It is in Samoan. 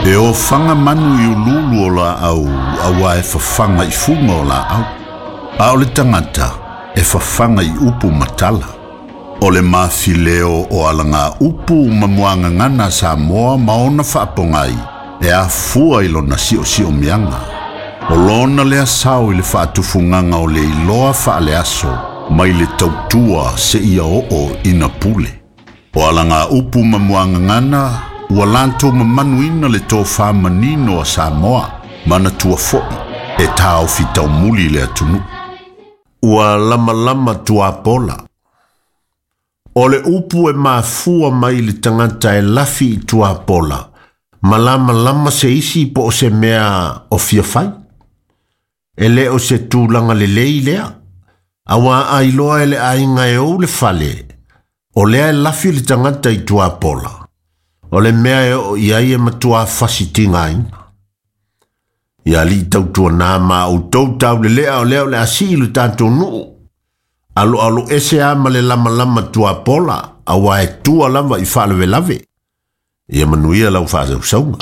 E ofaga manu i uluulu o laau auā e fafaga i fuga o laau, a o le tagata e fafaga i upu ma tala. O le mafileo o alaga upu ma muagagana a Samoa ma ona faapogai e afua i lona siosiomiaga. O lona lea sao i le faatufugaga o le iloa faaleaso mai le tautua seia oo ina pule. O alaga upu ma muagagana ua latou mamanuina le tofa manino a Samoa, manatua foi e taofi taumuli le atunuu. Ua lamalama tuapola. O le upu e mafua mai le tagata e lafi i tuapola, ma lamalama se isi po o se mea o fia fai. E le o se tulaga lelei lea, auā a iloa e le aiga e ou le fale, o lea e lafi le tagata i tuapola, o le mea e oo i ai e matuā fasi tigaina. Ia alii tautuanā ma outou taulelea o lea o le a sii lo tatou nuu, aloalo ese a ma le lamalama tuapola, auā e tua lava i faalavelave. Ia manuia lau faasausauga.